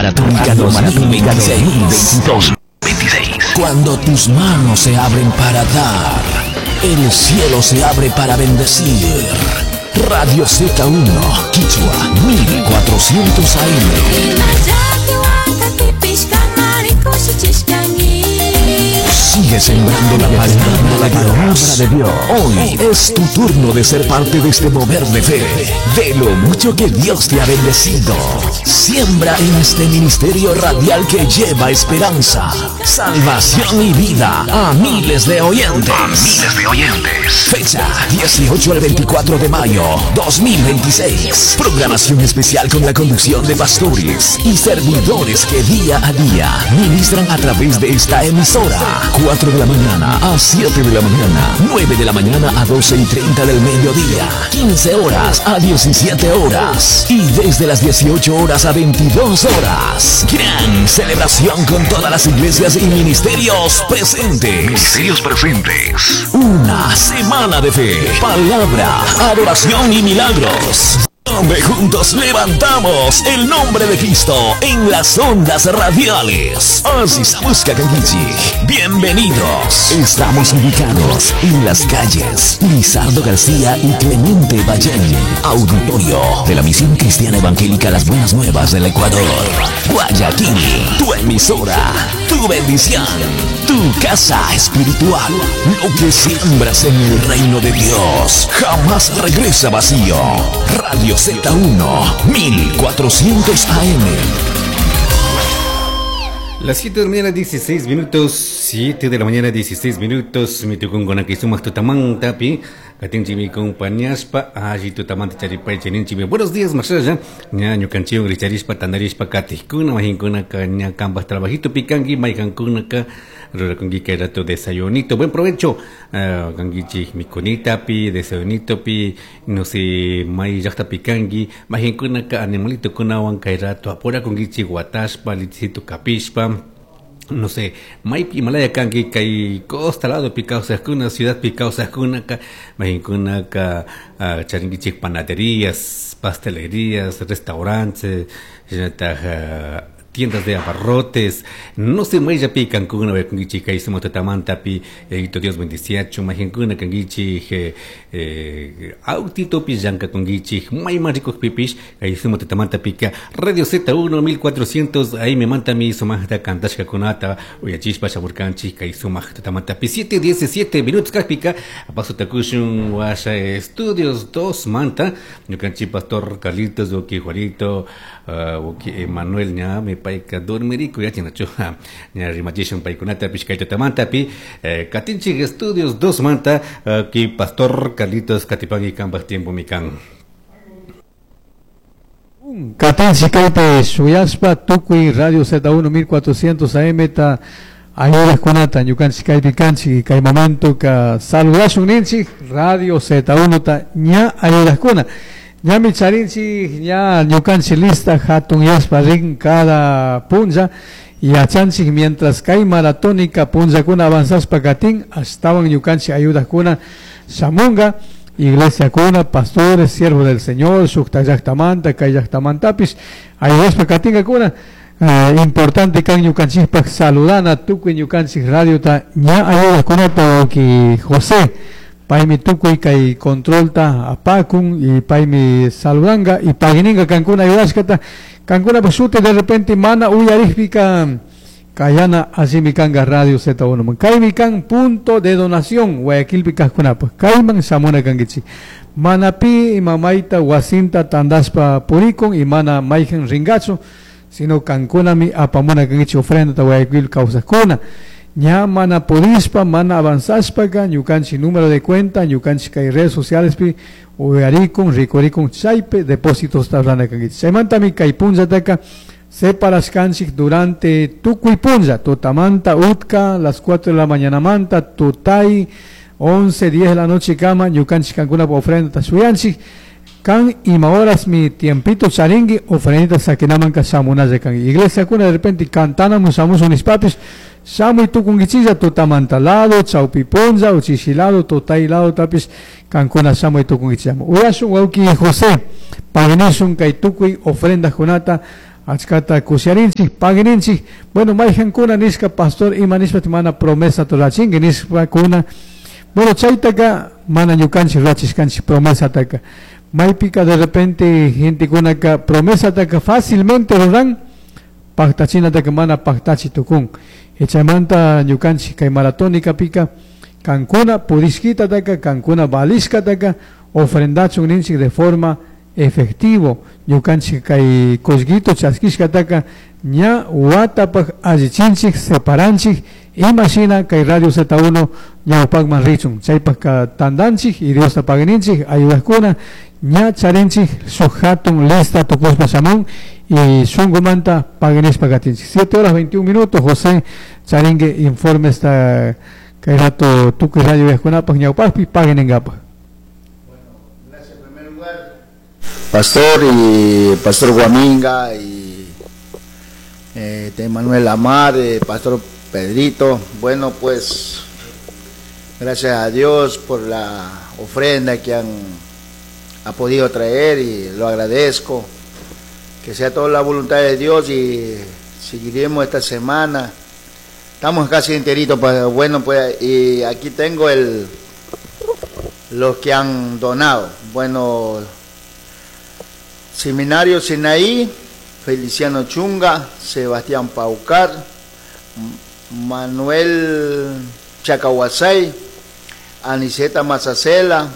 Maratónica 2026. Cuando tus manos se abren para dar, el cielo se abre para bendecir. Radio Z1, Quichua, 1400 AM. Sigue sembrando la palabra de Dios. Hoy es tu turno de ser parte de este mover de fe, de lo mucho que Dios te ha bendecido. Siembra en este ministerio radial que lleva esperanza, salvación y vida a miles de oyentes. A miles de oyentes. Fecha 18 al 24 de mayo 2026. Programación especial con la conducción de pastores y servidores que día a día ministran a través de esta emisora. 4 de la mañana a 7 de la mañana, 9 de la mañana a 12:30 del mediodía, 15 horas a 17 horas y desde las 18 horas a 22 horas. Gran celebración con todas las iglesias y ministerios presentes. Ministerios presentes. Una semana de fe, palabra, adoración y milagros. Donde juntos levantamos el nombre de Cristo en las ondas radiales. Así se busca Kankichi. Bienvenidos. Estamos ubicados en las calles Lizardo García y Clemente Ballén. Auditorio de la Misión Cristiana Evangélica Las Buenas Nuevas del Ecuador. Guayaquil, tu emisora, tu bendición, tu casa espiritual. Lo que siembras en el reino de Dios jamás regresa vacío. Radio Z1, 1400 AM. Las 7 de la mañana, 16 minutos. 7 de la mañana, 16 minutos. Mi tucungona que sumas tutamanta, pi. Katinchimi compañaspa, allí tutamanta charipay chininchimi. Buenos días, masaya. Ña ñukanchiwan richarispa, tandarispa, katijkuna, majinkuna, ka ña kampas trabajito pikanki, maykankuna ka rurakunki kay rato desayunito. Buen provecho. Kankichik mikunita pi, desayunito pi, no sé, may llaqta pikanki, majinkuna ka animalito kunawan kay rato apurakunkichik wataspa, lichito kapishpa. No sé, maypi imalaya kanki kay costa lado pi kawsaqkuna, ciudad pi kawsaqkunaka, mayqinkunaka charinkichik panaderías, pastelerías, restaurantes, shinallataq tiendas de abarrotes, no sé, mayllapi kankuna wayakunkichik kay sumaq tutamantapi, Yayitu Dios bendiciachun, mayqinkuna kankichik autitopi llankakunkichik, mayman rikukpipish kay sumaq tutamantapika Radio Z1 1400 AM mantami sumaqta kantashkakunata uyachishpa shamurkanchik kay sumaq tutamantapi 7:17 minutos kaqpika paso takushun washa estudios 2 manta ñukanchik pastor Carlitos uki Juanito uki Emanuel ña me payka dormiriku yachinachu ña rimachishun paykunatapish kay tutamantapi katinchik estudios 2 manta ki pastor Carlitos katipanki kanpaj tiempo mikan. Katinchik kaypi shuyashpa tukuy Radio Z1 1400 AM ta ayudaqkunata ñukanchik kaypi kanchik kay momento ka saludashun ninchik Radio Z1 ta ña ayudaqkuna. Ñami charinchik ña ñukanchik lista hatun yashpa rin cada punlla yachanchik mientras kay maratónica punllakuna avanzashpa katin ashtawan ñukanchik ayudaqkuna shamunga iglesiakuna, pastores, siervos del Señor, shukta llaqtamanta, kay llaqtamantapish ayudashpa katinkakuna. Importante kan ñukanchikpaq saludana tukuy ñukanchik radiota ña ayudaqkunata wawqi José paymi tukuy kay controlta apakun y paymi saludanqa y pagininqa kankuna ayudashkata kankunapaq shuti de repente mana uyarikpika kayana allimi kanqa Radio Z1 man kaymi kan punto de donación Guayaquilpi kaqkunapaq kayman shamuna kankichik mana pi imamayta wasinta tandashpa purikun y mana mayqin rinkachu sino kankunami apamuna kankichik ofrendata Guayaquil kawsaqkuna. Ña mana pudishpa, mana avanzashpaka, ñukanchik número de cuenta, ñukanchik kay redes sociales pi uyarikun, rikurikun chaypi depósitos rurana kankichik. Chaymantami kay punllataka separashkanchik durante tukuy punlla, tutamanta utka, las 4 de la mañana manta, tutay, 11, 10 de la noche kama, ñukanchik kankunapa ofrendata shuyanchik. Kan ima horas mi tiempito charingui ofrendita sakinaman ka shamunalla kanki. Iglesia kuna de repente cantanamus shamusun nispapis, shamuy tukunkichilla tutamanta lado, chawpi punlla, uchishi lado, tutay lado tapis, kankuna shamuy tukunkichilla. Uyashun wawqi José, paginishun kay tukuy ofrendakunata Achkata kusharinchik, pagininchik. Bueno, mayhankuna nishka pastor ima nishpa mana promesa rurachinki nishpakuna. Bueno, chaytaka mana ñukanchik rurachishkanchik promesataka. Maypika de repente gentekunaka promesataka fácilmente ruran, paktachinataka mana paktachi tukun. Chaymanta ñukanchik kay maratónica pika kankuna pudishkitataka, kankuna valishkataka ofrendachun ninchik de forma efectivo. Ñukanchik kay kullkito chaskishkataka ña watapaj allichinchik, separanchik, imashina kay Radio Z1 ñawpakman richun. Chaypajka tandanchik y Diosta paguininchik, ayudajkuna ña charinchik shuk hatun lista tukushpa shamun y shunkumanta paguinishpa katinchik. 7 horas 21 minutos, José charingue informe esta kay rato tukuy radio yajkunapaj ñawpakpi paguininkapaj. Gracias en primer lugar, Pastor y Pastor Guaminga y Manuel Amar, Pastor Pedrito. Bueno, pues gracias a Dios por la ofrenda que ha podido traer y lo agradezco. Que sea toda la voluntad de Dios y seguiremos esta semana. Estamos casi enteritos, pues, bueno, pues, y aquí tengo los que han donado. Bueno, Seminario Sinaí, Feliciano Chunga, Sebastián Paucar, Manuel Chacahuasay, Aniceta Mazacela,